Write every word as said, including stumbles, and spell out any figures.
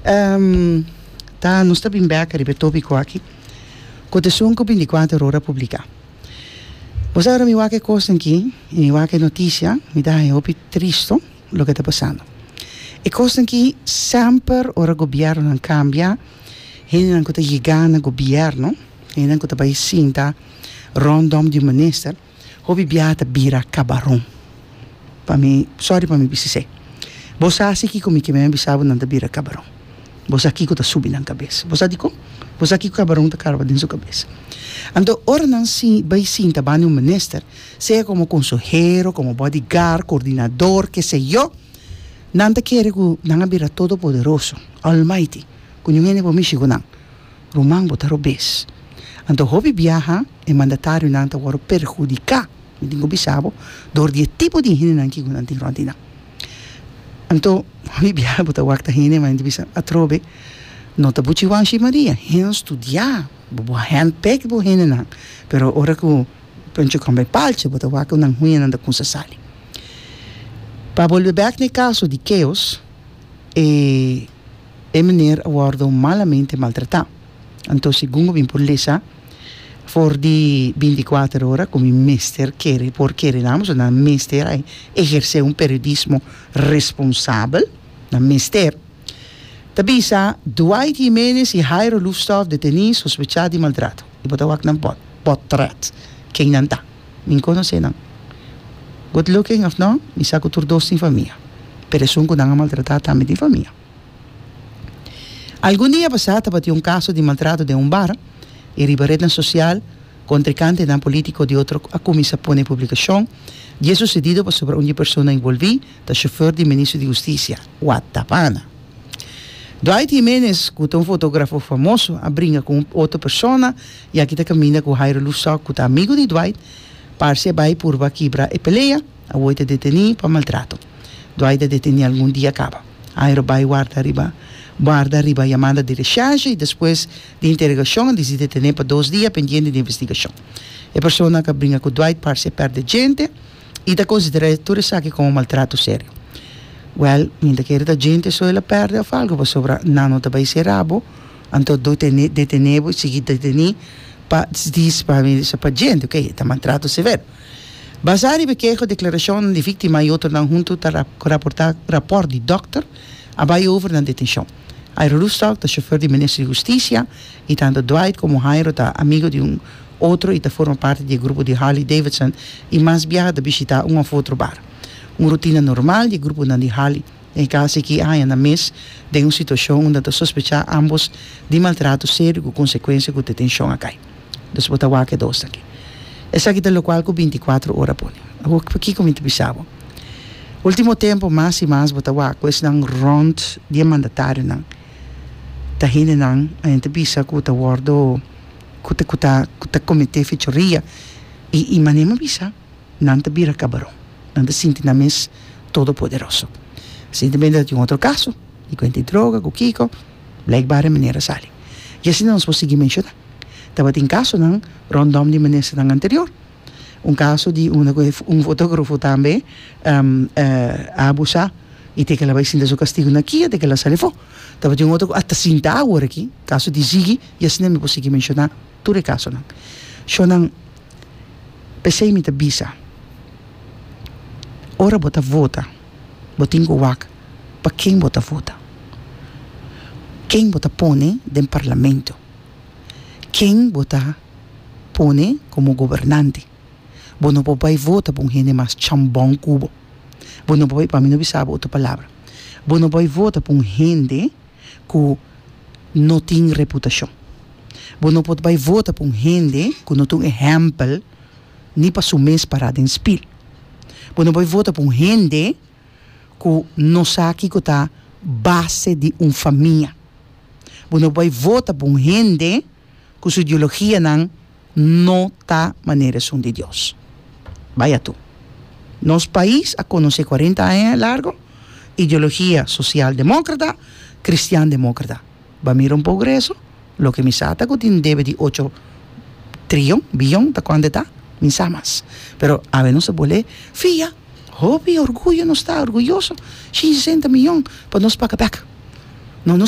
Um, ta, nos ta bin bek riba e tópiko aki. Ku esun ku bintikuater Ora a publiká. Bo sa, ora mi wak e kos aki, i mi wak e notisia, mi ta hopi tristu loke ta pasando. E kos aki semper ora gobièrnu kambia, hende ku ta yega na gobièrnu, hende ku ta bai sinta rondom di minister, hopi biaha ta bira kabaron. Pa mi, sorry pa mi bisa. Bo sa kiko mi ke men bisa bo nan ta bira kabaron. Bo sa kiko ta subi nan kabes. Bo sa dikon? Bo sa kiko kabaron ta karga den su kabes. Anto, ora nan si bai sinta banda un minister, sea komo konsehero, komo bodyguard, koordinadó, ke sé yo, nan ta kere ku nan a bira todopoderoso, almighty, ku ningun hende por mishi ku nan. Ruman, bo ta robes. Anto, hopi biaha, e mandatarionan ta wòrdu perhudiká, mi tin ku bisa bo, dor di tipo di hende nan ku nan tin rònt nan. Anto, hopi biaha bo ta wak ta hende, ma bisa atrobe, no ta Buchi Wanshi Maria, hende studia, bo handpick bo hende nan, pero ora ku puntje komt bij paaltje, bo ta wak nan huña nan ta kuminsá sali. Pa bolbe bek na kaso di Chaos, e, e meneer a wòrdu malamente maltratá. Anto, segun mi por lesa, for di bintikuater Ora, komo mester kere, por kere nan, nan mester ehersé un periodismo responsabel, nan mester. Ta bisa, Dwight Jimenez i Jairo Loefstoffe detení sospechá di maltrato. I bo ta wak nan pot, portret. Ken nan ta? Mi n' konosé nan. Good looking of no? Mi sa ku tur dos tin famia. Pero esun ku nan a maltratá tambe tin famia. Algun dia pasá tabatin un kaso di maltrato den un bar i riba ret sosial kontrinkantenan polítiko di otro a kuminsá pone publikashon di e susedido pasobra un persona envolví ta shofùr di minister di Hustisia, Watapana. Dwight Jimenez, ku ta un fotógrafo famoso, a bringa ku otro persona i aki ta kaminda ku Jairo Loefstok, ku ta amigu di Dwight, parse bai purba kibra e pelea, awor ta detení pa maltrato. Dwight a detení algun dia kaba. Jairo bai warda riba, warda riba yamada di recherche i despues di interogashon, a detené pa dos dia pendiente di investigashon. E persona ku a bringa ku Dwight parse pèrdè djente i ta konsiderá tur esaki komo maltrato serio. Well, mi ta kere ta djente so el a pèrdè òf algu, pasobra nan no ta bai sera bo, anto detené, detené bo, sigui detené pa dis pa pa djente, ok, ta maltrato severo. Basá riba keho, deklarashon di víktima i otronan huntu ta raportá rapòrt di dòkter a bai over na detenshon. Jairo Loefstok ta shofùr di minister di Hustisia i tantu Dwight komo Jairo ta amigu di un otro i ta forma parti di grupo di Harley Davidson i mas biaha ta bishitá un òf otro bar. Un rutina normal di gruponan di Harley. E kaso aki a haña nan mes den un situashon unda ta sospechá ambos di maltrato serio ku konsekuensia ku detenshon a kai. Dus bo ta wak e dos aki. Esaki ta loke ku bintikuater Ora a pone. Awor kiko mi ta bisa bo? Último tempu mas i mas bo ta wak ku esnan rònt di mandatarionan. Ta hendenan a bisa ku ta wòrdu ku ta ku ta ku ta kometé fechoria i i manera bisa nan ta bira kabaron. Nan ta sinti nan mes todopoderoso. Resientemente tin otro kaso di kuenta di droga ku kiko, blijkbaar meneer a sali. I asina nos por sigui menshoná. Tabatin kasonan rondom di ministernan anterior. Un kaso di un, un fotógrafo tambe um, uh, a abusá i te ku el a bai sinta su kastigu na KIA, te ku el a sali afó. Tabatin otro hasta sinta awor aki, kaso di Ziggy, i asina mi por sigui menshoná tur e kasonan. Shonnan, p'esei mi ta bisa. Ora bo ta vota, bo tin ku wak pa ken bo ta vota. Ken bo ta pone den parlamento. Ken bo ta pone komo gobernante. Bo no por bai vota pa un hende mas chambon ku bo. Bo no por pa mi no bisa otro palabra. Bo no por vota pa un hende ku no tin reputashon. Bo no por bai vota pa un hende ku no tin ehèmpel ni pa su mes pará den spil. Bo no por vota pa un hende ku no sa kiko ta base di un famia. Bo no por vota pa un hende ku su ideologianan no ta manera esun di Dios. Vaya tu. Nos pais a konosé kuarenta aña largu ideologia sosialdemókrata, kristian-demókrata. Bo a mira un progreso, loke mi sa ta ku tin debe di ocho trion, bion, ta kuantu ta? Mi n' sa mas. Pero awe nos a bolbe fia, hopi orguyo nos ta orguyoso, sesenta mion pa nos paga bèk. No, nos